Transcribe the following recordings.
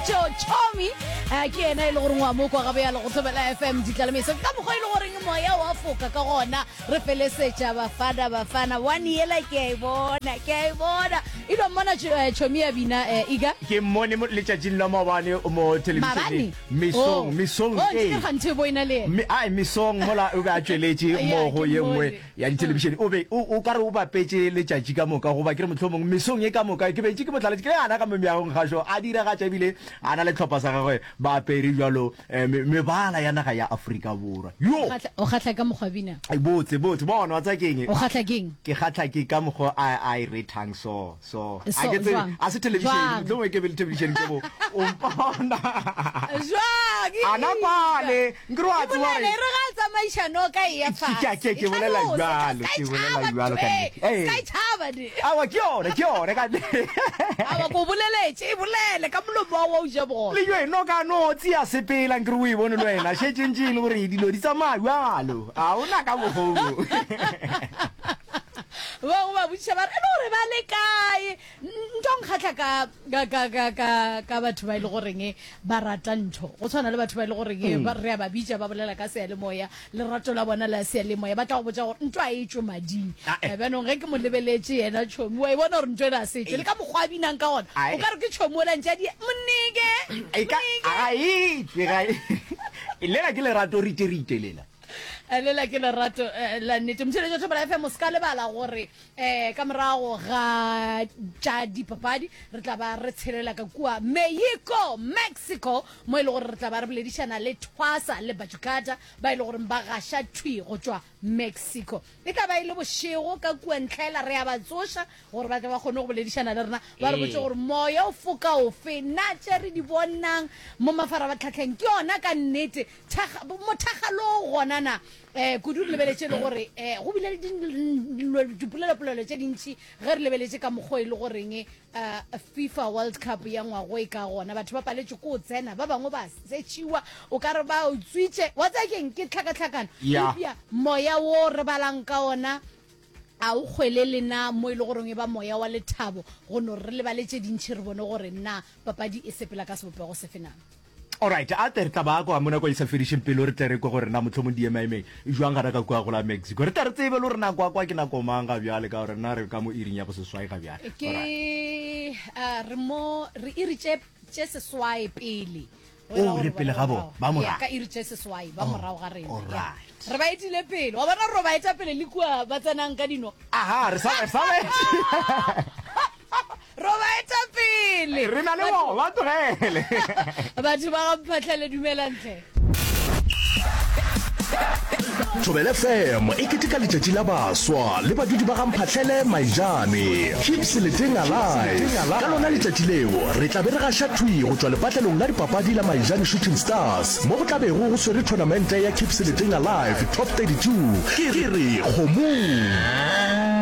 Pitšo Chomi eh, ke yena e le goreng wa mo kwa gabjalo go Thobela FM ditlalemeso. Ke ka mokgwa e le goreng moya wa foka ka gona re felesetša Bafana Bafana one yela ke a e bona ke a e bona e no mmona eh, Chomi ya bina eh, Iga Ke mmone mo letšatšing la maobane mo maabane thelebišeneng mesong oh mesong oh ee ntse ganthe bo ena le yena Me, ai mesong mola o be a tšweletše ya mo go ke ye nngwe mmone ya dithelebišene o be o o ka re o bapetše letšatši ka moka goba ke re mohlomong mesong ye ka moka ke be ntše ke mo hlaletše ke le ana ka mo meagong gašo a diragatša ebile a na le tlhopha sa gagwe ba apere bjalo eh, me- mebala ya naga ya Afrika Borwa yo o kgahla ka mokgwa bina Ai, botse botse bona wa tsa keng o kgahla keng ke kgahla ke ka mokgwa a a e rethang so so a So, ke tsebe jwang? a se thelebišene Jwang? mohlomongwe ke be le thelebišene ke bo o mpona jwang ana kwale nkere wa E tseba bolele, gore e re ga a tsamaiša noka e ya Ke- fase. ke- ke E bolela tlhalose, bjalo, ska e ke bolela tšhaba bjalo ka ntho e, nnete. Ee. ska e tšhaba ne. Aowa, ke yona, ke yona ka nnete. Aowa, ke o boleletše, e bolele ka molomo wa wa o ja bogobe. Le jwe noka no tšea sepela nkere o e bone le wena šetše ntše e le gore dilo di tsamaya bjalo ga o na ka mokgwa Ba bangwe ba botšiša ba re e le gore ba le kae? Ntho nkgahla ka, ka, ka, ka, ka, ka batho ba e le goreng ba rata ntho. Go tshwana le batho ba e le goreng mm. ba, re a ba bitša ba bolela ka seyalemoya, lerato la bona la seyalemoya. Ba tla go botša gore ntho a e tšwe mading. Ah, eh. Eh, Bjanong ge ke mo lebeletše yena tšhomi, wa e bona gore ntho ena a se tšwe. Le ka mokgwa a binang ka gona, Ah, o eh. ka re ke tšhomi ola ntše a di monike, E ka monike. ga e tšwe ga e lela ke lerato rite rite lela. Eh, Lela ke lerato eh, la nnete. Motšheletši wa Thobela FM, o se ka lebala gore um ka morago ga tša dipapadi re tla ba re tshelela ka kua Mexico, Mexico, mo e le gore re tla ba re boledišana le Thwasa le Bajukata ba e le goreng ba gaša thwi go tšwa Mexico. E tla ba e le bošego ka kua ntlhaela re a ba tsoša gore ba tle ba kgone go boledišana le rena ba re botše gore moya o foka ofe, na tše re di bonang mo mafarabatlhatlheng ke yona ka nnete Thakga, mothakgalo o gona na? Eh, kudu re lebeletše le gore eh, go bile le dilo, dipolelopolelo tše dintši ge re lebeletše ka mokgwa e le goreng eh, FIFA World Cup ya ngwago e ka gona. Batho ba paletšwe ke go tsena, ba bangwe ba setšhiwa, o ka re ba utswitše. Wa tseba keng? Ke tlhakatlhakano. Ya. Eupša moya wo re balang ka ona a o kgwelele na mo e le goreng e ba moya wa lethabo go no re lebale tše dintši re bone gore na papadi e sepela ka sebopego sefe na. Alright, a tle re tla ba kwa mo nako e sa fedišeng pelo re tle re kwe gore na mohlomong di emaemeng jwang gana ka kua go la Mexico. Re tle re tsebe le gore na kwa kwa ke nako mang ga bjale ka gore na re ka mo iring ya boseswai ga bjale. Ke uh, re mo re iri tše tše seswai pele. O re pele ga bona, ba morago. Ka iri tše seswai ba oh, morago ga rena. Alright. Re ba etile pele. Wa bona re ba eta pele le kua ba tsenang ka dino. Aha, re sa re sa Ro ba eta pele. Re na le bona, ba tlogele. Batho ba ga Mphahlele dumelang hle. Thobela FM e keteka letšatši la baswa le badudi ba ga Mphahlele Maijane. Keep Seleteng alive. Ka lona letšatši leo re tla be re gaša thwi go tšwa lepatlelong la dipapadi la Maijane Shooting Stars mo go tla bego go swere thonamente ya Keep Seleteng Alive Top 32. Ke re kgomong.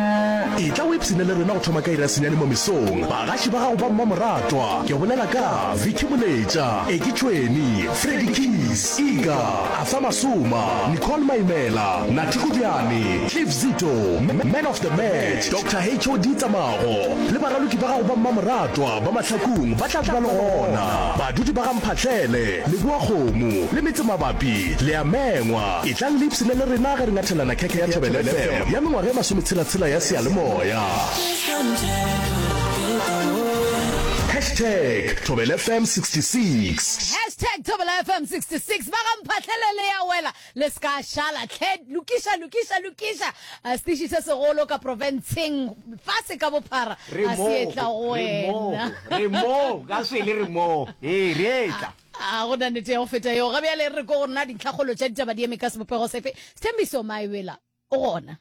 Etla o ipshine le rena go thoma ka iri ya senyane mo mesong. Bagaši ba gago ba mmamoratwa, ke bolela ka Vicky Moletša, Eki Tšhweni, Freddie Keys, Iga, Arthur Masoma, Nicole Maimela, Nathi Kodiane, Cliff Zito, Man of the Match, Doctor HOD Tsamago, le baraloki ba gago ba mmamoratwa ba Mahlakung ba tla ba le gona. Badudi ba ga Mphahlele, Leboakgomo le metsemabapi le a mengwa. Etlang le ipshine le rena ge re ngathelana khekhe ya Thobela FM ya mengwaga e masometshela-tshela ya seyalemoya. Hashtag Thobela FM 66. Hashtag Thobela FM 66. Ba ga Mphahlele le ya wela le se ka šala hle. Lokiša, lokiša, lokiša. A setiši se segolo ka profenseng fase ka bophara Re a moo, se etla go re moo, wena. re moo, ka swele re moo. Ee, re etla. A go na nnete ya go feta yeo. Ga bjale re ko go rena dintlhakgolo tša ditaba di eme ka sebopego sefe. Sthembiso Maebela o gona.